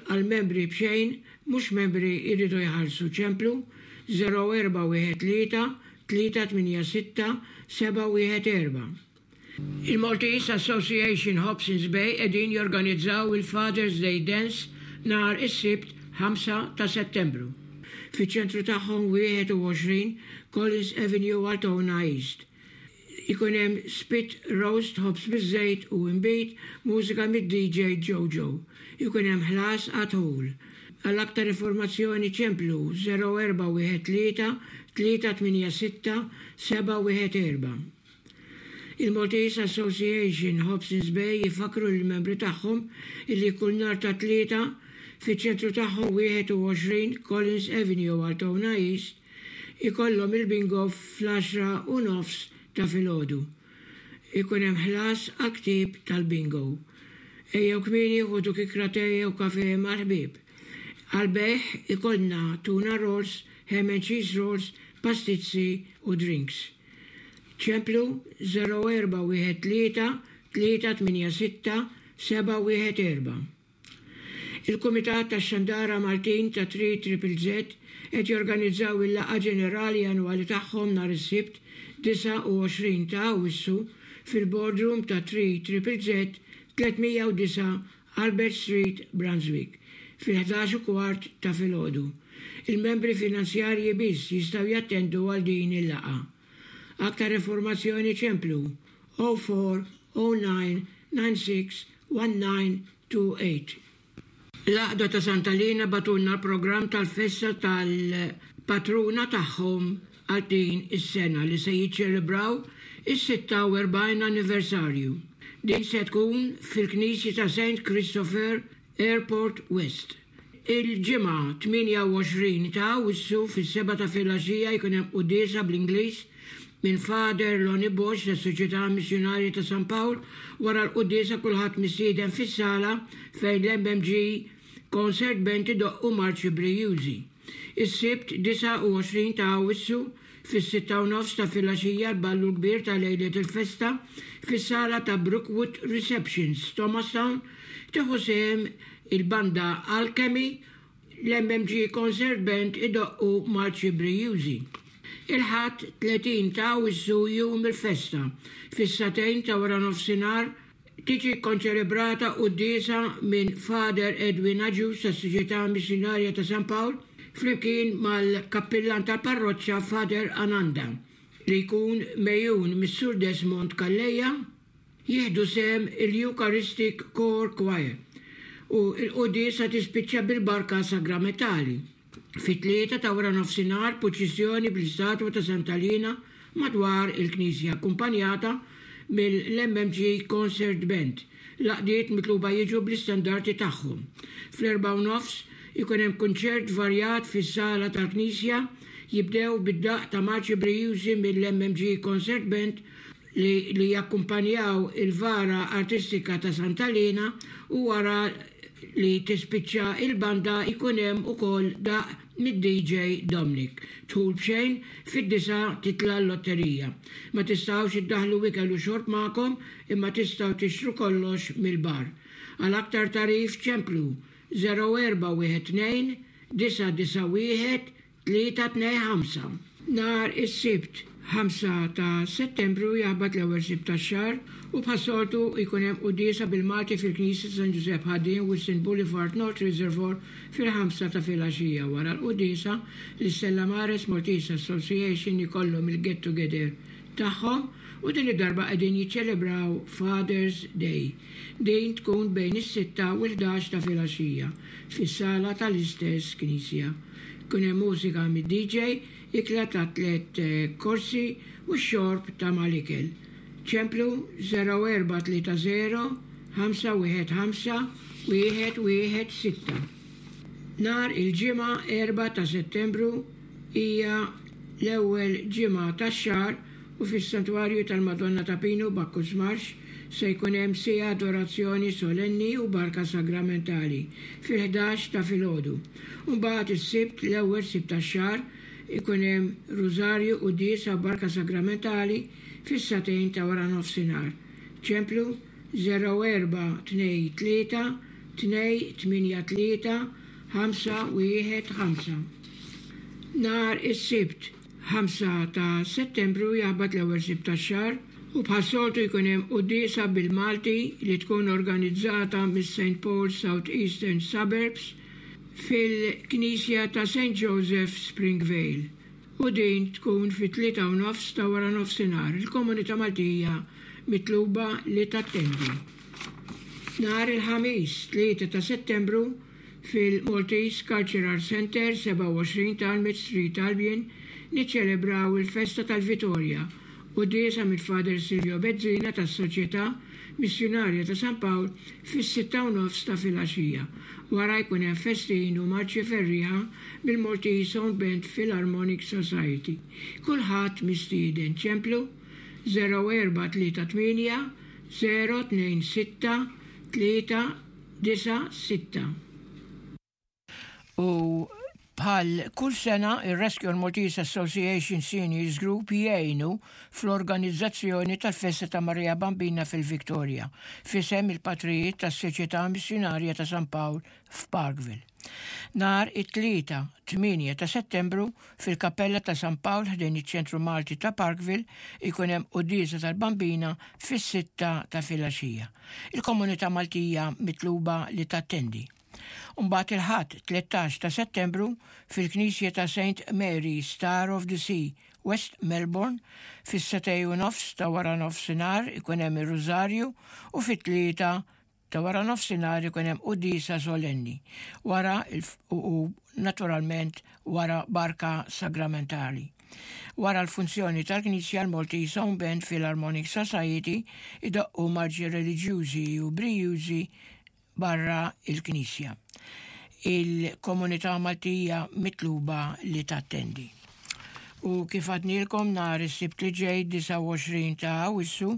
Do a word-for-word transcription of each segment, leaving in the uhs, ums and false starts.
għal membri b'xejn, mhux membri jridu jħallsu. Ċemplu żero erba' wieħed tlieta tlieta tmienja sitta seba' wieħed erba'. Il-Maltese Association Hobsons Bay qegħdin jorganizzaw il-Father's Day Dance nhar is-Sibt ħamsa ta' Settembru fiċ-ċentru tagħhom, wieħed u għoxrin Collins Avenue, Altona East. Ikun hemm spit roast, ħobż biż-żejt u imbit, mużika mid-D J Jojo. Ikun hemm ħlas għad-dħul. Għal aktar informazzjoni ċemplu żero erba' wieħed tlieta tlieta tmienja sitta seba' wieħed erba'. Il-Maltese Association Hobsons Bay jifakru l-membri tagħhom illi kull nhar ta' Tlieta fiċ-ċentru tagħhom, wieħed u għoxrin Collins Avenue, Altona East, ikollhom il-bingo fl-għaxra u nofs ta' filgħodu. Ikun hemm ħlas għal ktieb tal-bingo. Ejjew kmieni, ħudu kikkra te u kafe mal-ħbieb. Għal-bejgħ ikollna tuna rolls, ham and cheese rolls, pastizzi u drinks. Ċemplu żero erba' wieħed tlieta tlieta tmienja sitta seba' wieħed erba'. Il-Kumitat tax-Xandara Maltin ta' tlieta Triple Z qed jorganizzaw il-laqgħa ġenerali annwali tagħhom nhar is-Sibt disgħa u għoxrin ta' Awwissu fil-boardroom ta' tlieta Triple Z, tliet mija u disgħa Albert Street, Brunswick, fil-ħdax u kwart ta' filgħodu. Il-membri finanzjarji biss jistgħu jattendu għal din il-laqgħa. Aktar informazzjoni ċemplu żero erba' żero disa disgħa sitta wieħed disa tnejn tmienja. L-Għaqda ta' Santa Lina bagħtulna l-programm tal-festa tal-patruna tagħhom għal din is-sena li se jiċċelebraw is-sitta u erbgħin anniversarju. Din se tkun fil-Knisja ta' Saint Christopher, Airport West. Il-Ġimgħa tmienja u għoxrin ta' Awwissu fis-sebgħa ta' filgħaxija jkun hemm quddiesa bl-Ingliż minn Father Lonnie Bosch tas-Soċjetà Missjonarja ta' San Pawl. Wara l-quddiesa kulħadd mistieden fis-sala fejn l-M M G Concert Band idoqqu marċi brijużi. Is-Sibt disgħa u għoxrin ta' Awwissu fis-sitta u nofs ta' filgħaxija l-ballu kbir ta' lejlet il-festa fis-sala ta' Brookwood Receptions, Thomastown, tieħu sehem il-banda Alchemy, l-M M G Concert Band idoqqu marċi brijużi. Il-Ħadd tletin ta' Awwissu, jum il-festa, fis-sagħtejn ta' wara nofsinhar tiġi konċelebrata quddiesa minn Father Edwin Agius tas-Soċjetà Missjonarja ta' San Pawl flimkien mal-kappillan tal-parroċċa Father Ananda, li jkun megħjun mis-Sur Desmond Calleja. Jieħdu sehem il-Eucharistic Core Choir u l-quddiesa tispiċċa bil-barka sagramentali. Fit-tlieta ta' wara nofsinhar purċissjoni bl-istatwa ta' Santa Lina madwar il-Knisja akkumpanjata mill-M M G Concert Band. L-għaqdiet mitluba jiġu bl-istandarti tagħhom. Fl-erbgħa u nofs ikun hemm kunċert varjat fis-sala tal-Knisja, jibdew bid-daq ta' marċi brijużi mill-M M G Concert Band li, li jakkumpanjaw il-vara artistika ta' Santa Lina, u wara li tispiċċa il-banda ikun hemm ukoll daq mid-D J Dominic. Dħul b'xejn. Fid-disgħa titla l-lotterija. Ma tistgħux iddaħlu ikel u xorb magħkom, imma tistgħu tixtru kollox mill-bar. Għal aktar tagħrif ċemplu żero erba' wieħed tnejn disa' disa' wieħed tlieta tnejn ħamsa. Nhar is-Sibt ħamsa ta' Settembru jaħbat l-ewwel Sibt tax-xahar u bħas-soltu jkun hemm quddiesa bil-Malti fil-Knisja San Giuseppe Ħaddiem, Wilson Boulevard, North Reservoir, fil-ħamsa ta' filgħaxija. Wara l-quddiesa l-Stella Maris Maltese Association ikollhom il-get together tagħhom u din id-darba qegħdin jiċċelebraw Father's Day. Din tkun bejn is-sitta u l-ħdax ta' filgħaxija fis-sala tal-istess knisja. Kun hemm mużika mid-D J, ikla ta' tliet eh, korsi u xorb ta' mal-ikel. Ċemplu żero erba' tlieta żero ħamsa wieħed ħamsa wieħed wieħed sitta. Nhar il-Ġimgħa erbgħa ta' Settembru hija l-ewwel ġimgħa tax-xahar u fis-Santwarju tal-Madonna ta' Pinu, Bacchus Marsh, se jkun hemm siegħa adorazzjoni solenni u barka sagramentali fil-ħdax ta' filgħodu. Mbagħad is-Sibt, l-ewwel Sibt tax-xahar, ikun hemm rużarju, quddiesa, barka sagramentali fis-sagħtejn ta' wara nofsinhar. Ċemplu żero erba' tnejn tlieta tnejn tmienja tlieta ħamsa wieħed ħamsa. Nhar is-Sibt ħamsa ta' Settembru jaħbat l-ewwel Sibt tax-xahar u bħas-soltu jkun hemm quddiesa bil-Malti li tkun organizzata mis-Saint Paul South Eastern Suburbs fil-Knisja ta' Saint Joseph Springvale. U din tkun fit-tlieta u nofs ta' wara nofsinhar. Il-komunità Maltija mitluba li tattendi. Nhar il-Ħamis tlieta ta' Settembru fil-Maltese Cultural Center sebgħa u għoxrin ta' Almond Street, Albion, niċċelebraw il-festa tal-Vitorja, quddiesa mill-Father Silvio Bezzina tas-Soċjetà Missjunarja ta' San Pawl fis-sitta u nofs ta' filgħaxija. Wara jkun hemm festin u marċi ferrieħa mill-Maltese Own Band Philharmonic Society. Kulħadd mistieden. Ċemplu żero erba' tlieta tmienja żero tnejn sitta tlieta disa' sitta. U bħal kull sena, ir-Rescue Maltese Association Seniors Group jgħinu fl-organizzazzjoni tal-Festa ta' Maria Bambina fil-Victoria, f'isem il-patrijiet tas-Soċjetà Missjunarja ta' San Pawl f'Parkville. Nhar it-Tlieta tmienja ta' Settembru fil-Kappella ta' San Pawl ħdejn iċ-Ċentru Malti ta' Parkville ikun hemm quddiesa tal-Bambina fis-sitta ta' filgħaxija. Il-komunità Maltija mitluba li tattendi. Mbagħad il-Ħadd tlettax ta' Settembru fil-Knisja ta' Saint Mary Star of the Sea, West Melbourne, fis-setej u nofs ta' wara nofsinhar ikun hemm ir-Rużarju u fit-tlieta ta' wara nofsinhar ikun hemm quddiesa solenni. Wara il-f-, u, u naturalment wara barka sagramentali. Wara l-funzjoni tal-Knisja l-Maltese Own Band Philharmonic Society idoqqu marċi reliġjużi u brijużi barra il-Knisja. Il-komunità Maltija mitluba li tattendi. U kif għadnilkom nhar is-Sibt li ġej disgħa u għoxrin ta' Awwissu,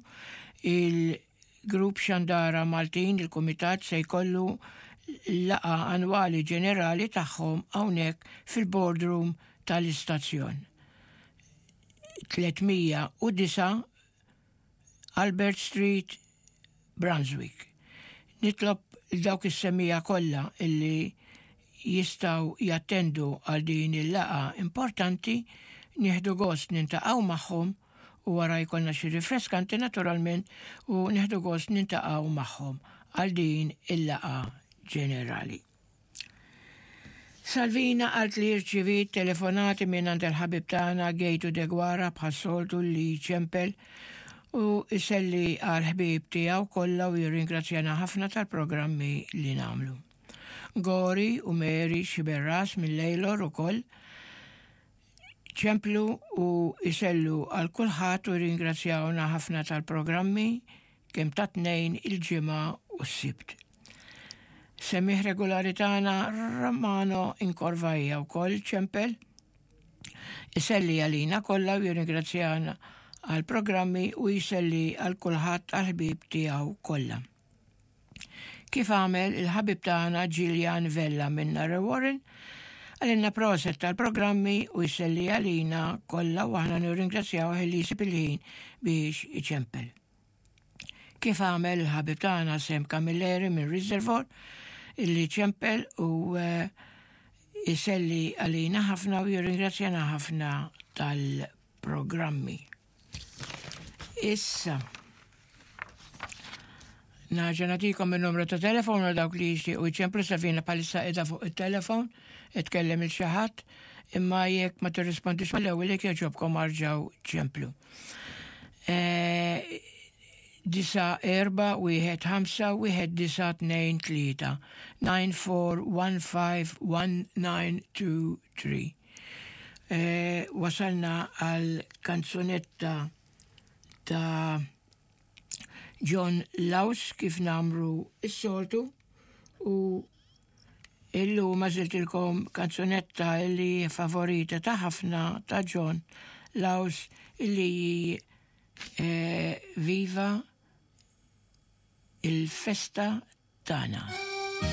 il-Grupp Xandara Maltin, il-Kumitat se jkollu laqgħa annwali ġenerali tagħhom hawnhekk fil-boardroom tal-istazzjon. Tletmija u disa' Albert Street, Brunswick. Nitlob dawk is-semmiegħa kollha illi jistgħu jattendu għal din il-laqgħa importanti, nieħdu gost nintaqgħu magħhom u wara jkollna xi rifreskanti naturalment u nieħdu gost nintaqgħu magħhom għal din il-laqgħa ġenerali. Salvina qalt li rċivit telefonati minn għand il-ħabib tagħna Gejtu Degwara bħas-soltu li ċempel u iselli għal ħbieb tiegħu kollha u jirringrazzjana ħafna tal-programmi li nagħmlu. Gori u Mary Xiberras mill-Lejlor ukoll ċemplu u isellu għal kulħadd u jirringrazzjawna ħafna tal-programmi kemm ta' tnejn il-ġimgħa u s-Sibt. Semmiegħ regolari tagħna Romano Inkorvajja wkoll ċempel iselli għalina kollha u jirringrazzjana għal programmi u jiselli għal kulħadd għal ħbieb tiegħu kollha. Kif għamel il-ħabib tagħna Gillian Vella minn Narre Warren, għalinna proset tal-programmi u jiselli għalina kollha u aħna nirringrazzjaw li jsib il-ħin biex iċempel. Kif għamel il-ħabib tagħna Sem Camilleri minn Reservoir, illi ċempel u, eh, jiselli għalina ħafna u jirringrazzjana ħafna tal-programmi. Issa, naġa nagħtikom il-numru ta' telefon għal dawk li jixtiequ jċemplu. Savina bħalissa qiegħda fuq il-telefon, itkellem il xi ħadd, imma jekk ma tirrispondix mal-ewwel jekk jogħġobkom arġgħu ċemplu. Eh, disa erba' wieħed ħamsa wieħed disa tnejn tlieta, nine four one five one nine two three. Eh, wasalna għal kanzunetta ta' John Laus kif namru s-soltu u illum għażiltilkom kanzunetta illi favorita ta' ħafna ta' John Laus illi, eh, Viva il-festa tagħna.